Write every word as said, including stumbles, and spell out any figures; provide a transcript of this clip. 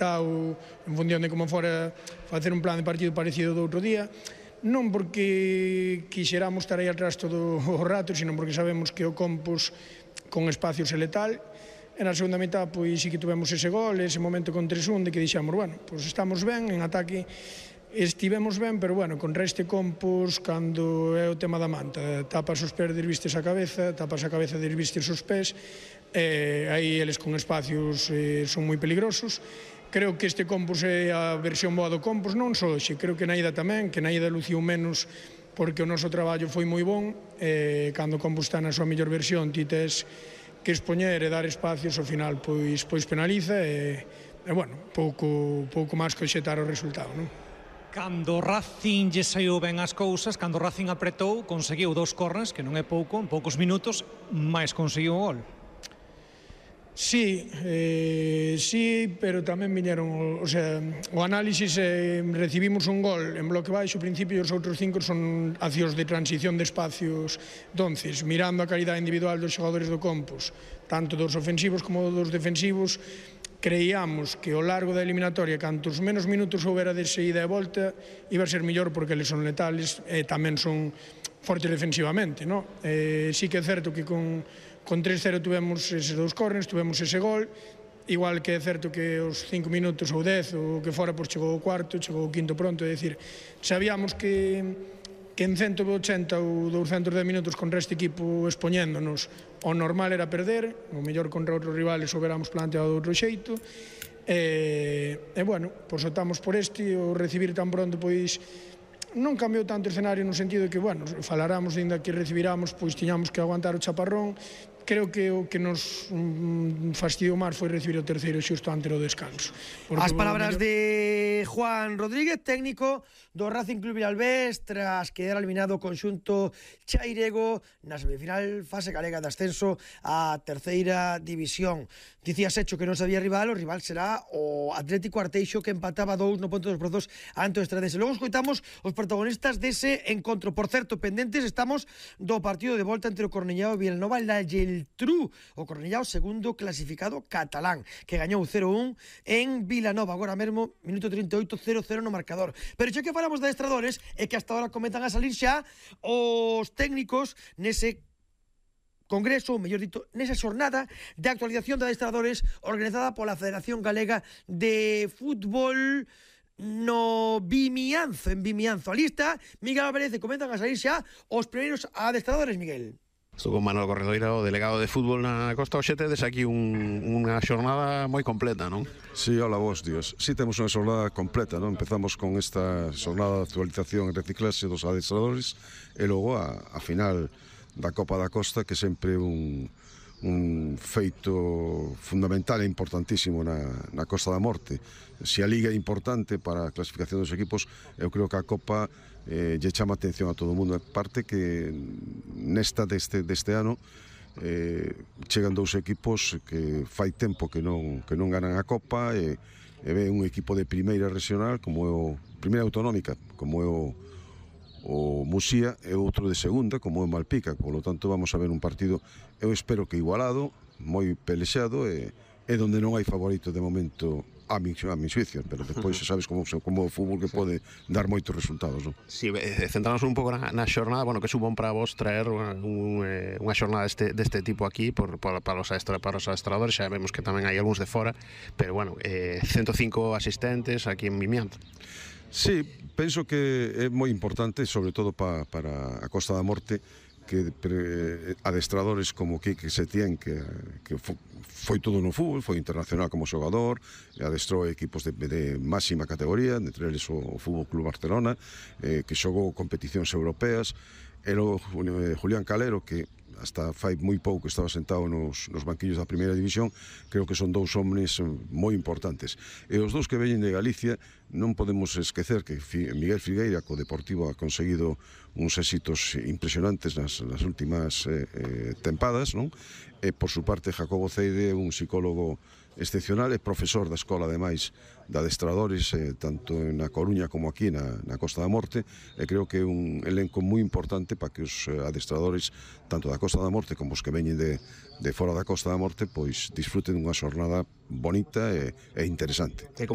en función de como fora facer un plan de partido parecido do outro día, non porque quixeramos estar aí atrás todo o rato, sino porque sabemos que o Compos con espacios é letal, e na segunda mitad pois sí que tuvemos ese gol, ese momento con tres un de que dixemos, bueno, pois estamos ben, en ataque estivemos ben, pero bueno, contra este Compos, cando é o tema da manta, tapas os pés, desvistes a cabeza, tapas a cabeza, desvistes os pés, e aí eles con espacios eh, son moi peligrosos. Creo que este Compos é a versión boa do Compos, non só hoxe, creo que na ida tamén, que na ida luciu menos porque o noso traballo foi moi bon, e cando o Compos está na súa mellor versión, ti tes que expoñer e dar espacios, ao final pois, pois penaliza e, e bueno, pouco, pouco máis que xetar o resultado, non? Cando Racing lle saiu ben as cousas, cando Racing apretou, conseguiu dous corners, que non é pouco, en poucos minutos, máis conseguiu o gol. Sí, eh, sí, pero tamén viñeron, o sea, o análisis, eh, recibimos un gol en bloque baixo, ao principio, e os outros cinco son accións de transición de espacios. Entonces, mirando a calidade individual dos xogadores do Compos, tanto dos ofensivos como dos defensivos, creíamos que ao largo da eliminatoria, cantos menos minutos houbera de ida e volta, iba a ser mellor porque eles son letales e tamén son fortes defensivamente, no? Eh, sí que é certo que con Con tres cero tuvemos eses dous corners, tuvemos ese gol, igual que é certo que os cinco minutos ou dez, ou que fora, pois chegou o cuarto, chegou o quinto pronto, é dicir, sabíamos que, que en ciento ochenta ou douscentos dez minutos contra este equipo expoñéndonos, o normal era perder, o mellor contra outros rivales o veramos planteado de outro xeito, e, e bueno, pois optamos por este, o recibir tan pronto, pois, non cambiou tanto o escenario no sentido de que, bueno, falaramos ainda que recibiramos, pois tiñamos que aguantar o chaparrón. Creo que o que nos mm, fastidiou máis foi recibir o terceiro xusto antes do descanso. As palabras de Juan Rodríguez, técnico do Racing Club Vilalbés, tras quedar eliminado o conxunto chairego na semifinal fase galega de ascenso á terceira división. Dicías, Hecho, que non sabía rival, o rival será o Atlético Arteixo, que empataba dous no Ponte dos Brozos ante o Estradense. Logo escoitamos os protagonistas dese encontro. Por certo, pendentes estamos do partido de volta entre o Cornellao e Vilanova na Geltrú, o Cornellao segundo clasificado catalán, que gañou cero un en Vilanova. Agora mesmo, minuto trinta e oito, cero cero no marcador. Pero xa que falamos de adestradores, é que hasta ahora comezan a salir xa os técnicos nese congreso, ou mellor dito, nesa xornada de actualización de adestradores organizada pola Federación Galega de Fútbol no Vimianzo, en Vimianzo. A lista, Miguel Álvarez, e comenzan a salir xa os primeiros adestradores, Miguel. Estou con Manuel Corredoira, o delegado de fútbol na Costa Oxe. Tedes aquí un, unha xornada moi completa, non? Sí, hola vos, Dios. Sí, temos unha xornada completa, non? Empezamos con esta xornada de actualización e reciclaxe dos adestradores e logo a, a final da Copa da Costa, que sempre é un, un feito fundamental e importantísimo na, na Costa da Morte. Se a Liga é importante para a clasificación dos equipos, eu creo que a Copa eh, lle chama atención a todo o mundo. Parte que nesta deste, deste ano eh, chegan dous equipos que fai tempo que non, que non ganan a Copa, e, e ve un equipo de primeira regional, como é o primeira autonómica, como é o o Muxía, e outro de segunda, como é Malpica. Por lo tanto, vamos a ver un partido, eu espero que igualado, moi pelexado, e, e donde non hai favorito de momento a mi, a mi xuicio, pero depois sabes como, como o fútbol que pode dar moitos resultados, non? Si, sí, centramos un pouco na, na xornada, bueno, que supón para vos traer unha, un, unha xornada deste, deste tipo aquí por, por, para, os adestra, para os adestradores. Xa vemos que tamén hai algúns de fora, pero bueno, eh, ciento cinco asistentes aquí en Vimianzo. Sí, penso que é moi importante, sobre todo pa, para a Costa da Morte, que pre, adestradores como Quique Setién, que, que fo, foi todo no fútbol, foi internacional como xogador, adestrou equipos de, de máxima categoría, entre eles o, o Fútbol Club Barcelona, eh, que xogou competicións europeas, e logo Julián Calero, que hasta fai moi pouco estaba sentado nos, nos banquillos da primeira división. Creo que son dous homens moi importantes. E os dous que veñen de Galicia, non podemos esquecer que Miguel Figueira, co Deportivo, ha conseguido uns éxitos impresionantes nas, nas últimas eh, eh, tempadas, non? E, por su parte, Jacobo Ceide, un psicólogo excepcional e profesor da escola, ademais, de adestradores, eh, tanto na Coruña como aquí na, na Costa da Morte, e creo que é un elenco moi importante para que os adestradores, tanto da Costa da Morte como os que veñen de, de fora da Costa da Morte, pois disfruten dunha xornada bonita e, e interesante.